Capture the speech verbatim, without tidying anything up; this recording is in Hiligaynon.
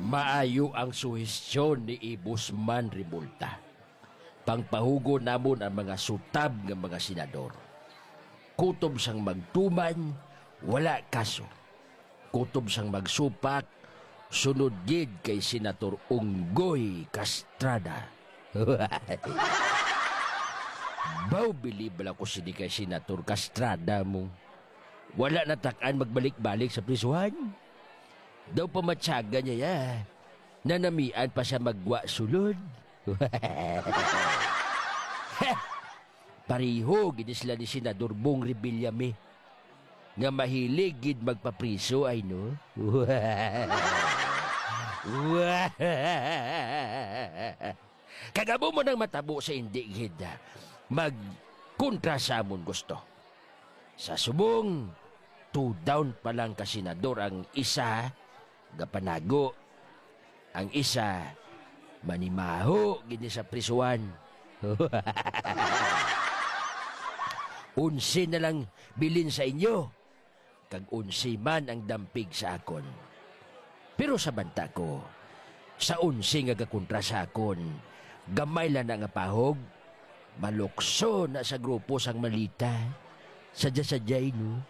Maayo ang suhestyon ni Ibusman Rimulta. Pangpahugon namon ang mga sutab nga mga senador. Kutob sang magtuman, wala kaso. Kutob sang magsupak, sunod gid kay Senator Unggoy Castrada. Baw, bilib bala ko sini kay Senator Castrada mo. Wala na tak-an magbalik-balik sa prisuhan. Daw pamatyagan niya ya. Nanamian pa siya maggwa sulod. Pareho gid sila ni Senador Bong Revillame, nga mahilig gid magpapriso, ay, no? Kag amo man ang matabo sa indi gid, ah, magkontra sa amon gusto. Sa subong, two down pa lang ka senador ang isa, gapanago. Ang isa, manimaho gid ni sa prisuhan. Onse na lang bilin sa inyo, kag onse man ang dampig sa akon. Pero sa banta ko, sa onse nga gakontra sa akon, gamay lang na nga pahog, malukso na sa grupo sang malita. Sadya-sadyay, no?